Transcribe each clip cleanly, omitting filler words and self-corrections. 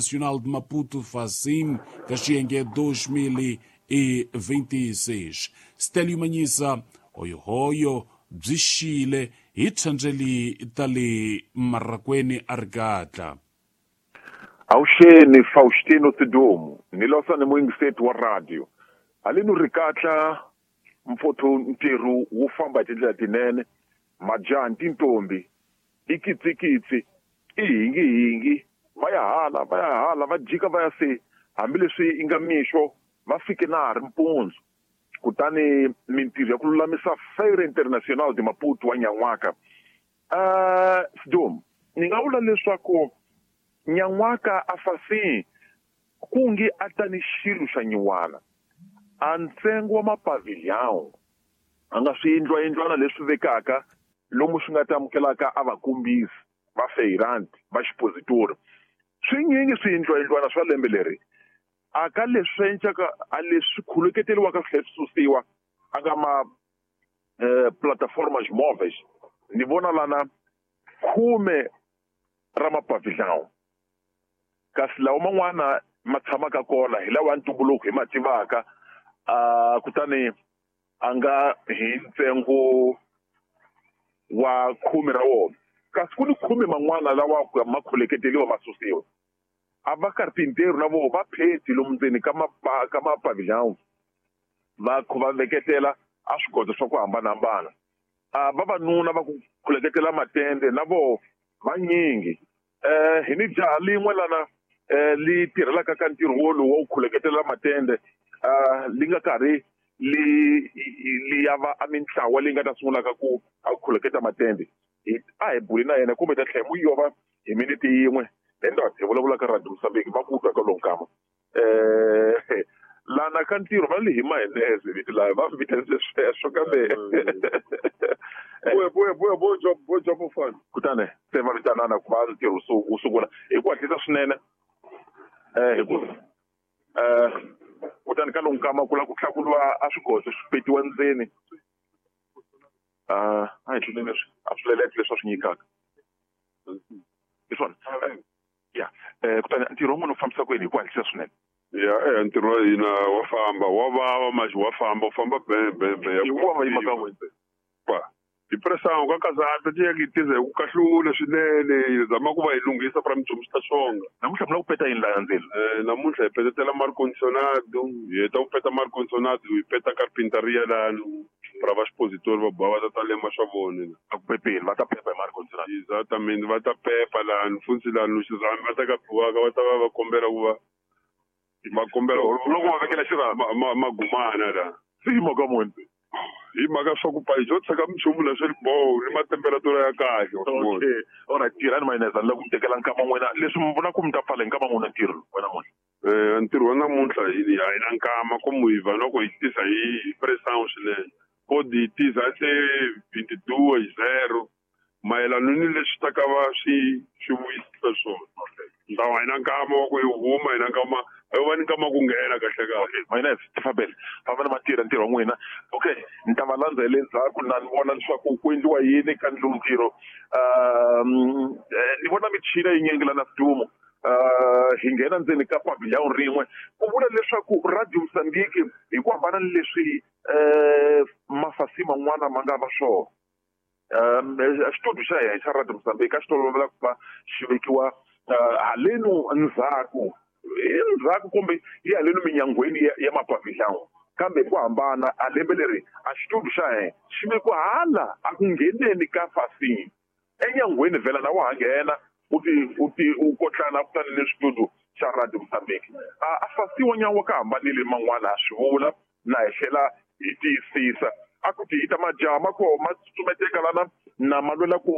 Nacional de Maputo Facim, Caxiengue 2026. Stélio Manhisa, hoyohoyo, byi xile hi thandleli ta le marakweni a ri katla. Avuxeni Faustino Sidumo ni losa ni muyingiseti wa radio haleni ri katla mfotho ntirho wu famba hi tindlela tinene majaha ni tintombi i kitsikitsi i hingihingi va ya hala va ya hala va jika va ya se hambileswi yi nga mixo va fike na ha ri mpundzu kutani mintirho ya ku lulamisa Feira Internacional de Maputo wa nyan'waka Sidom ni nga vula leswaku nyan'waka a fasini ku nge a ta ni xilo xa nyiwana a ntsengo wa mapavilhão a nga swiyindlwayindlwana leswi vekaka lomu swi nga ta amukelaka a vakombisi va feiranti va xipositori swinyingi swiyindlwayindlwana swa lembe leri a ka leswi encaka a leswi khuluketeriwaka swi tlhela swi susiwa a nga ma plataformas móveis ni vona lana khume ra mapavilhão kasi lawa man'wana ma tshamaka kona hi lawa ya ntumbuluko hi ma tivaka kutani a nga hi ntsengo wa khume ra wona kasi ku ni khume man'wana lawa ma khuleketeriwa ma susiwa a va carpinteiro na voho va pheti lomu ndzeni ka ka mapavilhão va va veketela a swigodo swa ku hambanahambana a vavanuna va ku khuleketela matende na voho vanyingi hi ni jaha lin'we lana li tirhelaka ka ntirho wolowu wa ku khuleketela matende li nga karhi li li ya va a mintlawa leyi nga ta sungulaka ku a khuleketa matende a hi buli na yena kumbe ta tlhela mu yova hi minete yin'we enda hi vulavula ka radio Mozambique va ku twa ka lowu nkama lana ka ntirho va le hi mayonnaise vito laha va vitanise sweswo kambe kutani se va vitanana ku va ntirho wu sungula hi ku hatlisa swinene hi ku kutani ka lowu nkama ku lava ku hlakuriwa a swigodo swi petiwa ndzeni a hi tluleni leswi a swilelete leswi a swi nyikaka hi swona ya kutani ntirho wun'wana wu fambisa ku yini hi ku hatlisa swinene ya ntirho wa hina wa famba wa vava maxi wa famba u famba bembe hi ku va yima ka n'wina pa hi pressão ka kazata ti ya ki tiza hi ku kahlula swinene hi zama ku va hi lunghisa pra minchumu swi ta xonga namuntlha mi lava ku peta yini laha ndzeni namuntlha hi petetela mar condicionado hi heta ku peta mar condicionado hi peta carpintaria lano pra va expositori va boha va ta ta lema swa vona a ku pepeni va ta pepa hi mar condicionado exatamente va ta pepa lano funtsi lano xirhami va ta ka biwaka va ta va va kombela ku va va kombela loko va vekela xirhami magumana la se hi mhaka muni hi mhaka swa ku pa hi tshika minchumu la swi ri boho ni matemperatura ya kahle okay alright tirhani mayonnaise ni lava ku mi tekela nkama n'wina leswi mi vona ku mi ta pfala hi nkama n'wina ntirho wa namuntlha ntirho wa namuntlha hi a hi na nkama komu hi va loko hi tisa hi pressão swinene kodi hi tisa se 22:00 mayelana ni leswi ta ka va swi swi vuyisisa swona ntawu a hi na nkama wa ku hi huma hi na nkama a yo va ni nkama ku nghena kahle kahle mayonnaise tifambele famba ni matirha ntirho wa n'wina okay ni ta va landza hi le ndzhaku na ni vona leswaku ku endliwa yini ka ndlu ntirho ni vona michini yinyingi la na sidumo hi nghena ndzeni ka pavilhão rin'we ku vula leswaku radio Mozambique hi ku hambana ni leswi mafasi man'wana ma nga va swona xitudio xa hina xa radio Mozambique a xi tolovela ku va xi vekiwa halenu ndzhaku endzhaku kumbe hi halenu minyangweni ya mapavilhão kambe hi ku hambana a lembe leri a xitudio xa hina xi vekiwa hala a ku ngheneni ka fasini enyangweni vhela na wa ha nghena u ti u ti u kotlana kutani ni xitudio xa radio Mozambique a fasiwa nyan'wa ka hambanile man'wana ha swi vula na hi tlhela hi tiyisisa a ku ti ta majaha ma koho ma tsutsumeteka lana na ma lwela ku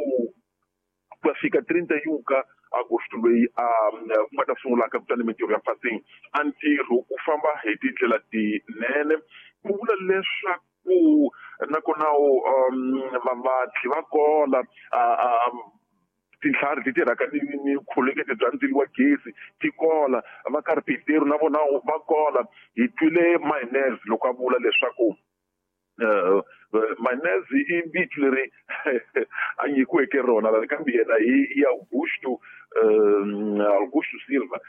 ya fika 31 ka agosto loyi a ku nga ta sungulaka kutani mintirho ya fasini a ntirho u famba hi tindlela tinene ku vula leswaku nakona vavatli va kola tintlhari ti tirhaka ni ni khulekete bya ndzilo wa gezi ti kola va carpinteiro na vona va kola hi twile mayonnaise loko a vula leswaku mayonnaise i vito leri a nyikiweke rona kambe yena hi Augusto Augusto Silva loko